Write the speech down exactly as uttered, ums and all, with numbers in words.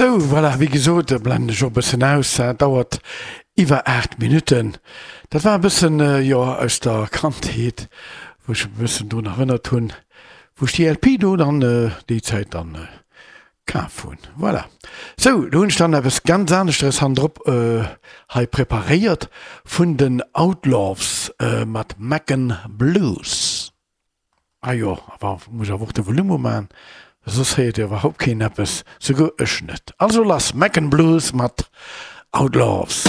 Sou, voilà, wéi gesot, blenden ech och e bëssen aus, dat dauert iwwer aacht Minutten. Dat war e bëssen, jo, aus der Kandheet, wou ech e bëssen drun erënnert hunn, wou ech déi L P do dann déi Zäit dann kaf hunn. Voilà. Sou, do hunn ech dann eppes ganz aneschteres hannendrop hei preparéiert vun den Outlaws mat Macon Blues. Ah jo, awer muss awer och de Volume umaan, soss héiert jo iwwerhaupt keen eppes, souguer ech net. Also lass, Macon Blues mat Outlaws.